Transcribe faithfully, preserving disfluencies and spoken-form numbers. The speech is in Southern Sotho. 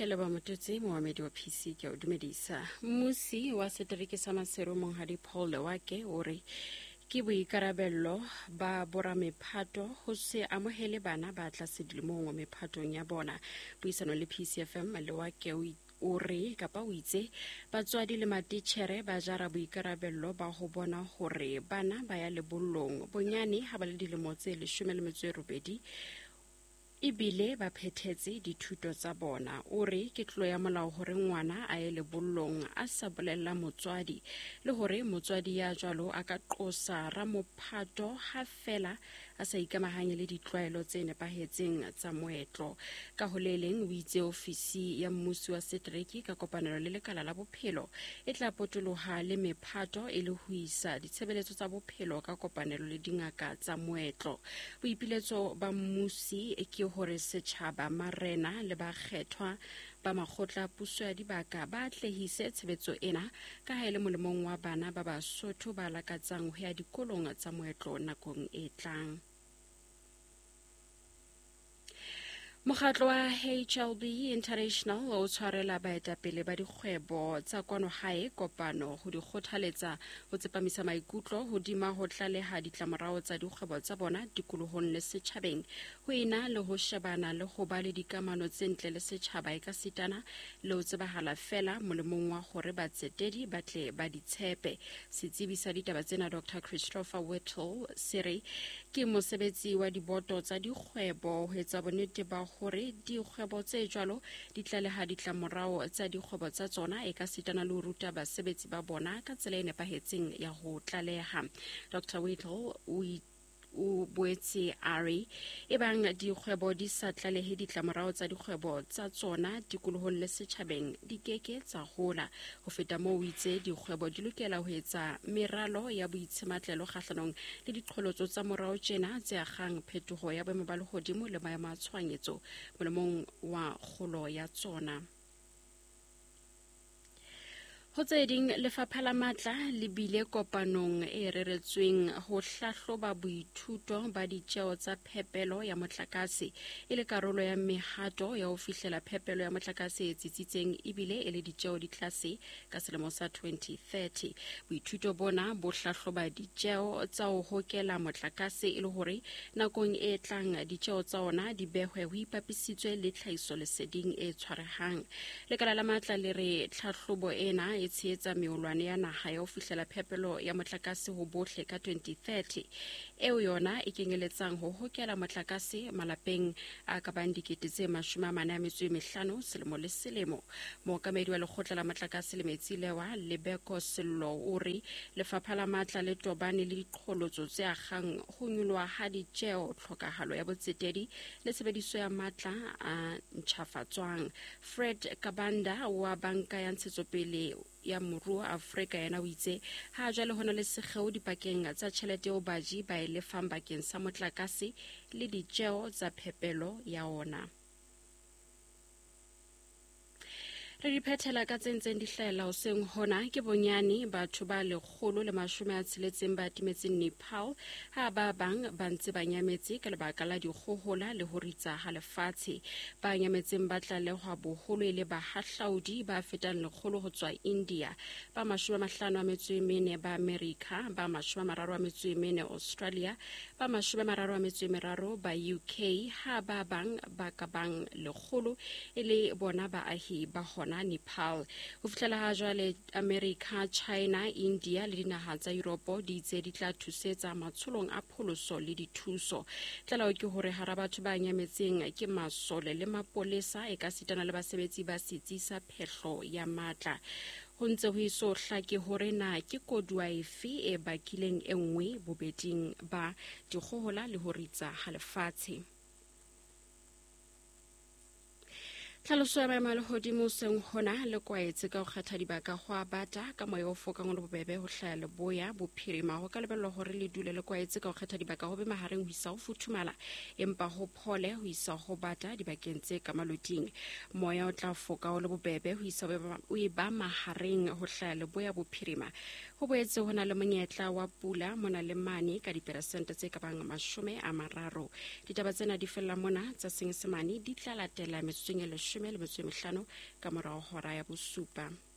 Ke leboha Mototsi, moamedi wa P C ke o dumedisa. Mmusi wa setereke sa Maseru Monghadi Paul Lewake o re ke boikarabello ba boramephato ho se amohele bana ba tlase dilemong mephatong ya bona. Puisano le P C F M Lewake o o re kapa o itse batswadi le matitjhere ba jara boikarabello ba ho bona hore bana ba ya lebollong bonyane ha ba le dilemo tse leshome le metso e robedi ebile ba phethetse dithuto tsa bona. O re ke tlolo ya molao hore ngwana a ye lebollong a sa bolella motswadi le hore motswadi ya jwalo a ka qosa ramophato ha fela a sa ikamahanye le ditlwaelo tse nepahetseng tsa moetlo. Ka ho le leng o itse ofisi ya mmusi wa setereke ka kopanelo le lekala la bophelo e tla potoloha le mephato e le ho isa ditshebeletso tsa bophelo ka kopanelo le dingaka tsa moetlo. Boipiletso ba mmusi ke hore setjhaba, marena le bakgethwa ba makgotla puso ya dibaka ba atlehise tshebetso ena ka ha e le molemong wa bana ba Basotho ba lakatsang ho ya dikolong tsa moetlo nakong e tlang. Mokgatlo wa H L B International o tshwarela baetapele ba dikgwebo tsa kwano hae kopano ho di kgothaletsa ho tsepamisa maikutlo hodima ho tlaleha ditlamorao tsa dikgwebo tsa bona tikolohong le setjhabeng ho ena le ho shebana le ho ba le dikamano tse ntle le setjhaba e ka sitana le ho tsebahala fela molemong wa hore batsetedi ba tle ba di tshepe. Setsebi sa ditaba tsena Doctor Christopher Whittle se re ke mosebetsi wa diboto tsa dikgwebo ho etsa bonnete ba hore dikgwebo tse jwalo di tlaleha ditlamorao tsa dikgwebo tsa tsona e ka sitana le ho ruta basebetsi ba bona ka tsela e nepahetseng ya ho tlaleha. Doctor Whittle o o boetse a re ebang dikgwebo di sa tlalehe ditlamorao tsa dikgwebo tsa tsona tikolohong le setjhabeng di keke tsa hola. Ho feta moo o itse dikgwebo di lokela ho etsa meralo ya boitshematlelo kgahlanong le diqholotso tsa morao tjena tse akgang phetoho ya boemo ba lehodimo le maemo a tshohanyetso molemong wa kgolo ya tsona. Ho tse ding, lefapha la matla le bile kopanong e reretsweng ho hlahloba boithuto ba ditjeo tsa phepelo ya motlakase e le karolo ya mehato ya ho fihlela phepelo ya motlakase e tsitsitseng ebile e le ditjeo di tlase ka selemo sa twenty thirty. Boithuto bona bo hlahloba ditjeo tsa ho hokela motlakase e le hore nakong e tlang ditjeo tsa ona di behwe ho ipapisitswe le tlhahisoleseding e tshwarehang. Lekala la matla le re tlhahlobo ena e tshehetsa meolwane ya naha ya ho fihlela phepelo ya motlakase ho bohle ka twenty thirty eo yona e kenyeletsang ho hokela motlakase malapeng a ka bang dikete tse mashome a mane a metso e mehlano selemo le selemo. Mookamedi wa lekgotla la motlakase le metsi Lewa Lebeko Sello o re lefapha la matla le tobane le diqholotso tse akgang ho nyoloha ha ditjeo, tlhokahalo ya botsetedi le tshebediso ya matla a ntjhafatswang. Fred Kabanda wa banka ya ntshetsopele ya moruo Afrika yena o itse ha jwale ho na le sekgeo dipakeng tsa tjhelete eo baji ba e lefang bakeng sa motlakase le ditjeo tsa phepelo ya ona. Re di phethela ka tse ntseng di hlahella hoseng hona ke bonyane batho ba lekgolo le mashome a tsheletseng ba timetseng Nepal ha ba bang ba ntse ba nyametse ka lebaka la dikgohola le ho ritsa ha lefatshe. Ba nyametseng ba tlalehwa boholo e le bahahlaudi ba fetang lekgolo ho tswa India, ba mashome a mahlano a metso e mene ba America, ba mashome a mararo a metso e mene Australia, ba mashome a mararo a metso e meraro ba U K, ha ba bang ba ka bang lekgolo e le bona baahi ba hona Nepal. Ho fihlela ha jwale America, China, India le dinaha tsa Europe di itse di tla thusetsa matsholong a pholoso le dithuso. Tlaleho ke hore hara batho ba nyametseng ke masole le mapolesa e ka sitana le basebetsi ba setsi sa phehlo ya matla. Ho ntse ho eso hlake hore na ke koduwa efe e bakileng e nngwe bobeding ba dikgohola le ho ritsa ha lefatshe. Tlhaloso ya maemo a lehodimo hoseng hona le kwaetse ka ho kgetha dibaka ho a bata ka moya o fokang o le bobebe ho hlaya leboya bophirima. Ho ka lebellwa hore le dule le kwaetse ka ho kgetha dibaka ho be mahareng ho isa ho futhumala empa ho phole ho isa ho bata dibakeng tse ka maloting. Moya o tla foka o le bobebe ho isa o e ba mahareng ho hlaya leboya bophirima. Ho boetse ho na le monyetla wa pula mona le mane ka diperesente tse ka bang mashome a mararo. Ditaba tsena di fella mona tsa Senyesemane di tla latela metsotsong e leshome leshome le metso e mehlano ka morao hora ya bosupa.